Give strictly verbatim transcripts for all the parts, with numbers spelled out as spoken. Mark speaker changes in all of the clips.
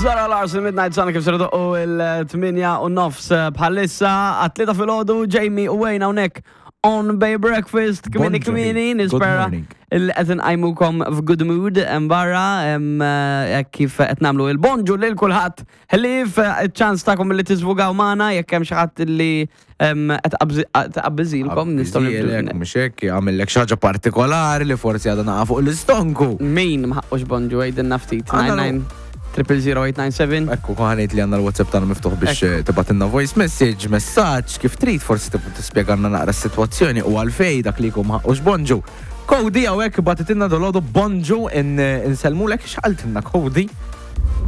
Speaker 1: Zara Larsson, Midnight Sun, kif ser u il-tmienja u nofs bħalissa, għat-tlieta filgħodu, Jamie u Wayne hawnhekk on Bay Breakfast, kmieni
Speaker 2: Bonġu.
Speaker 1: Kmieni,
Speaker 2: Good
Speaker 1: nispera
Speaker 2: morning.
Speaker 1: il qed nqajmukom f'good mood hemm barra, hemm, eh, kif qed nagħmlu il-bonġu lil kulħadd. Ħlief eh, ċans tagħkom li tiżvugaw magħna jekk hemm xi ħadd li em, qed taqbiżilkom nistgħu
Speaker 2: Qabbiżilek,
Speaker 1: nibdu.
Speaker 2: mhux hekk, għamillek xi ħaġa partikolari li forsi għadha naqa fuq l-istonku.
Speaker 1: Min ma ħaqqux bonġu, għidilna ftit?
Speaker 2: Għandna
Speaker 1: nine nine triple zero eight nine seven.
Speaker 2: Ekku, ħanejt li għandna l-WhatsApp tagħna miftuħ biex eh, tibgħatilna voice message, messaġġ, kif trid, forsi tib tispjegalna naqra s-sitwazzjoni u għalfej dak li jkun ħaqqux bonġu. Cody hawnhekk bagħtitilna dalgħodu bonġu, insellmulek. X'qaltilna Cody?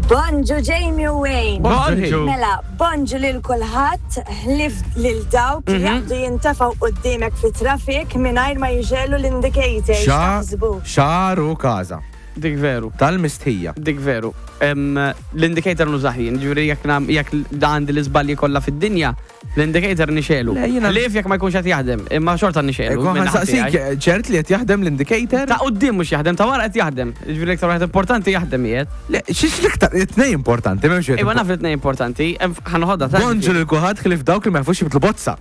Speaker 3: Bonġu, Jamie u Wayne.
Speaker 1: Bonġu.
Speaker 3: Mela, bonġu lil kulħadd ħlief lil dawk li jaqbdu jintefgħu quddiemek fi traffic mingħajr ma jixegħlu l-indicator. X'taħsbu?
Speaker 2: Xaru kaza.
Speaker 1: Dik veru.
Speaker 2: Tal-mistħija.
Speaker 1: Dik veru. Em, L-indicator nużah jien, ġifieri jekk nam- jekk għandi l-iżbalji kollha fid-dinja, l-indicator nixegħlu.
Speaker 2: Le, jiena-
Speaker 1: Ħlief jekk ma jkunx qed jaħdem, imma xorta nixegħlu.
Speaker 2: Ekku,
Speaker 1: minn naħa
Speaker 2: ħansaqsik,
Speaker 1: tiegħi.
Speaker 2: ċert li qed jaħdem l-indicator?
Speaker 1: Ta' quddiem mhux jaħdem, ta' wara qed jaħdem. Ġifieri l-iktar wieħed importanti jaħdem qiegħed.
Speaker 2: Le, xiex l-iktar, it-tnejn importanti, m'hemmx wieħed.
Speaker 1: Iva, naf li tnejn importanti, em, ħa noħodha ta'
Speaker 2: Bonġu lil kulħadd ħlief dawk li ma jafux jibdlu bozza.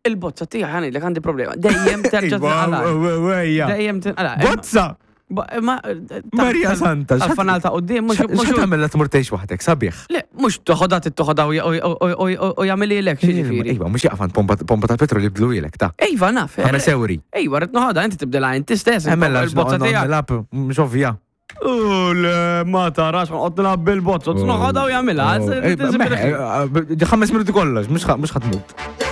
Speaker 1: Il-bozza tiegħi, ħa ngħidlek, għandi problema. Dejjem terġa' tinqala.
Speaker 2: Iva,
Speaker 1: Dejjem tinqala.
Speaker 2: Bozza!
Speaker 1: Ba- Ma
Speaker 2: Marija Santa, x'ħat-
Speaker 1: Tal-fanal ta' quddiem mhux mhux
Speaker 2: X'tagħmel la tmur tgħix waħdek, sabiħ.
Speaker 1: Le, mhux toħodha toħodha u jagħmilhielek, xiġifieri.
Speaker 2: Iva, mhux jaqfan pompa pompa tal-petrol jibdluhielek ta'
Speaker 1: Iva, naf.
Speaker 2: Ħames ewri.
Speaker 1: Ejwa, rrid noħodha, inti tibdilha inti stess.
Speaker 2: Emmella
Speaker 1: il-bozza tiegħek.
Speaker 2: Lab, mhux ovvja.
Speaker 1: U le, ma tarax, noqgħod nilgħab bil-bozza, noħodha u jagħmilha.
Speaker 2: Eh, Ħames minuti kollox, mhux ħa tmut.